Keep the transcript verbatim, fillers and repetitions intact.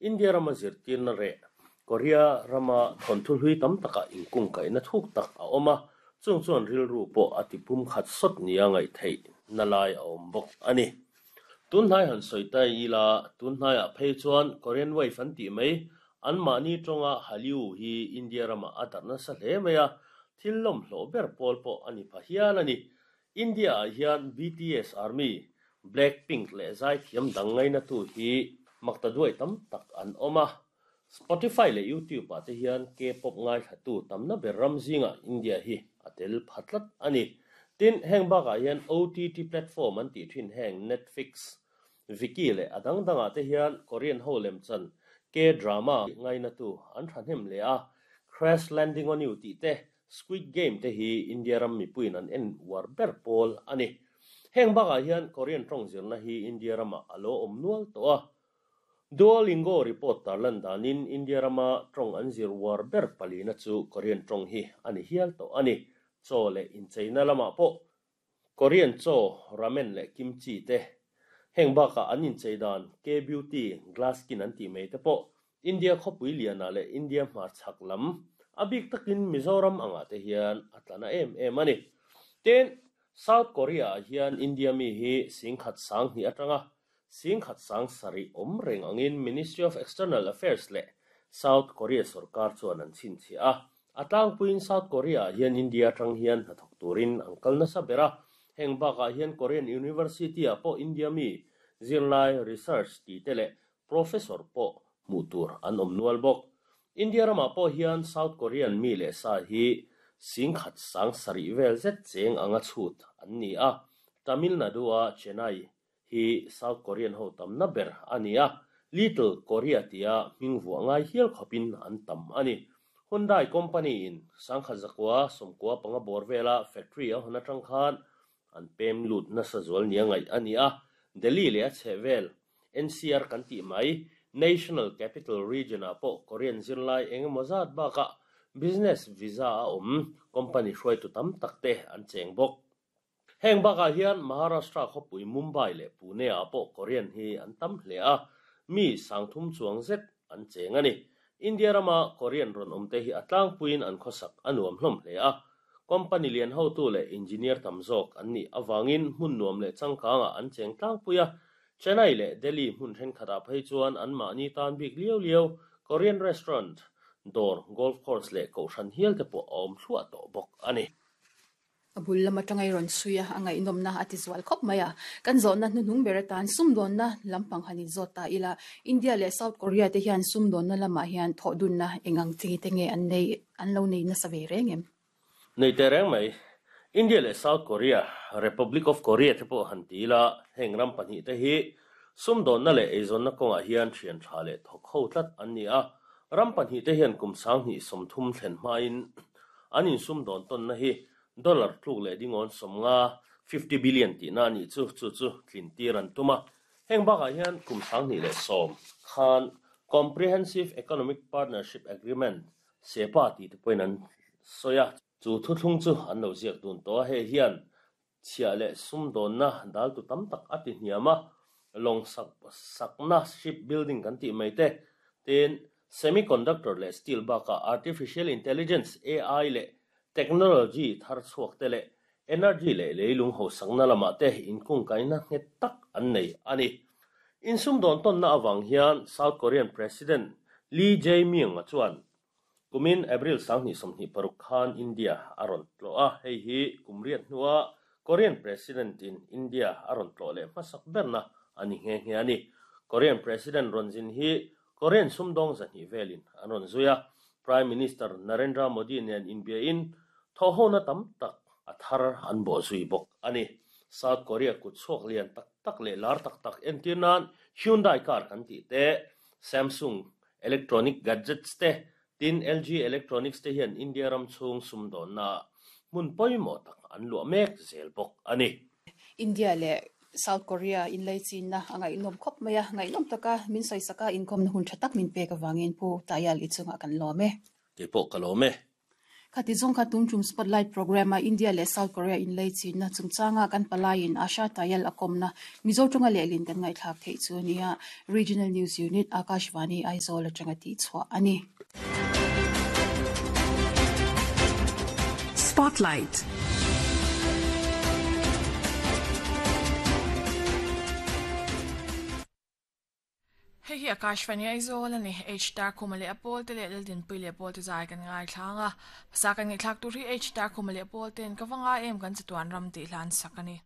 India rama zirtirna reh Korea rama thawnthu hlui tam takah inkungkaihna thuk tak a awm a, chung chuan rilru pawh a tipum khat sawt nia ngaih theih na lai a awm bawk a ni. Tunhnai han sawi ta ila, tunhnaiah phei chuan Korean Wave an tih mai, anmahni tawnga Hallyu hi India ramah a darh nasa hle mai a, thil lawm hlawh ber pawl pawh a ni pha hial a ni. India-ah hian B T S Army, Blackpink leh zaithiam dang ngainatu hi makta duai tam tak an awm a. Spotify leh YouTube-ah te hian K-pop ngaithlatu tamna ber ram zingah India hi a tel pha tlat a ni. Tin, heng bakah hian O T T platform an tih thin heng Netflix, Viki leh a dang dangah te hian Korean ho lemchan K-drama ngainatu an thahnem leh a, Crash Landing on You tih te, Squid Game te hi India ram mipuiin an en uar ber pawl a ni. Heng bakah hian Korean tawng zirna hi India ramah a lo awm nual tawh a. Duolingo report tarlan danin India rama tawng an zir uar ber palina chu Korean tawng hi a ni hial tawh a ni. Chaw leh incheina lamah pawh Korean chaw, ramen leh kimchi te, heng bakah an inchei dan K-beauty, glass skin an tih mai te pawh India khawpui lianah leh India hmarchhak lam a bik takin Mizoram angah te hian a tlana em em a ni. Tin, South Korea-ah hian India mi hi singkhat sang hnih atanga singkhat sang sarih awm reng angin Ministry of External Affairs leh South Korea sorkar chuan an chhinchhiah a. A tlangpuiin South Korea-ah hian India atang hian hnathawk turin an kal nasa ber a. Heng bakah hian Korean University-ah pawh India mi zirlai research ti te leh professor pawh hmuh tur an awm nual bawk. India ramah pawh hian South Korean mi leh sa hi singkhat sang sarih vel zet cheng anga chhut an ni a. Tamil Nadu-a Chennai hi South Korean ho tamna ber a ni a, Little Korea tia hming vuah ngai hial khawpin an tam a ni. Hyundai company in sangkhat zakua sawmkua panga bawr vela factory a hawn atang khan an pem lut nasa zual nia ngaih a ni a. Delhi leh a chheh vel N C R kan tih mai National Capital Region-ah pawh Korean zirlai engemaw zat bakah business visa a awm company hruaitu tam tak te an cheng bawk. Heng bakah hian Maharashtra khawpui Mumbai leh Pune-ah pawh Korean hi an tam hle a, mi sangthum chuang zet an cheng a ni. India rama Korean rawn awm te hi a tlangpuiin an khawsak a nuam hlawm hle a. Company lian hotu leh engineer tam zawk an nih awangin hmun nuam leh changkangah an cheng tlangpui a. Chennai leh Delhi hmun thenkhatah phei chuan anmahni tan bik liau liau Korean restaurant, dawr, golf course leh kohhran hial te pawh a awm thluah tawh bawk a ni. A bul lama tangai rawn chhui a, a ngaihnawmna a ti zual khawp mai a. Kan zawhna hnuhnung ber atan sumdawnna lampang han inzawt ta ila, India leh South Korea te hian sumdawnna lamah hian thawh dunna engang chi te nge an nei, an lo nei nasa ve reng em? Nei te reng mai. India leh South Korea, Republic of Korea te pawh han ti ila, heng ram pahnih te hi sumdawnna leh eizawnna kawngah hian thian tha leh thawk ho tlat an ni a. Ram pahnih te hian kum sanghnih sawmthum thlen hmain an insumdawn tawnna hi dollar tluk leh dingawn sawmnga, fifty billion tihna a nih chu, chu chu tlin tir an tum a. Heng bakah hian kum sanghnih leh sawm khan Comprehensive Economic Partnership Agreement, CEPA tih te pawhin an sawi a. Chu thuthlung chu an lo ziak dun tawh a. Hei hian chhiah leh sumdawnna daltu tam tak a ti hniam a, lawng sak sakna, ship building kan tih mai te, tin semiconductor leh steel bakah artificial intelligence, A I leh technology thar chhuak te leh energy leh leilung ho sakna lamah te inkungkaihna nghet tak an nei a ni. Insumdawn tawnna awang hian South Korean President Lee Jae-myung a chuan kumin April sanghnih sawmhnih paruk khan India a rawn tlawh a. Hei hi kum riat hnua Korean President in India a rawn tlawh leh hmasak berna a ni nghe nghe a ni. Korean President rawn zin hi Korean sumdawng zahnih velin an rawn zui a. Prime Minister Narendra Modi nen inbiain thawhhona tam tak a thar an bawh zui bawk a ni. South Korea kut chhuak lian tak tak leh lar tak tak, entir nan Hyundai car kan tih te, Samsung electronic gadgets te, tin L G Electronics te hian India ram chhung sumdawnna hmun pawimawh tak an luah mek zel bawk a ni. India leh South Korea inlaichinna a ngaihnawm khawp mai a. Ngaihnawm taka min sawi saka inkhawmna hun tha tak min pek awangin Pu Tayal i chungah kan lawm e. Keipawh ka lawm e. Khati zong kha tum Spotlight program a India le South Korea in lei chin na chungchanga kan palain Asha Tayal akomna Mizo tonga le lin kan ngai thlak thei chu nia Regional News Unit Akashvani Aizawl atanga ti chwa ani. Spotlight. Hei hi Akashvani Aizawl ani H tar khumale apol te le din pui le pol te zai kan ngai thlanga pasa kan ngai thlak tur hi H tar khumale apol ten ka wanga em kan chatuan ram ti hlan sakani.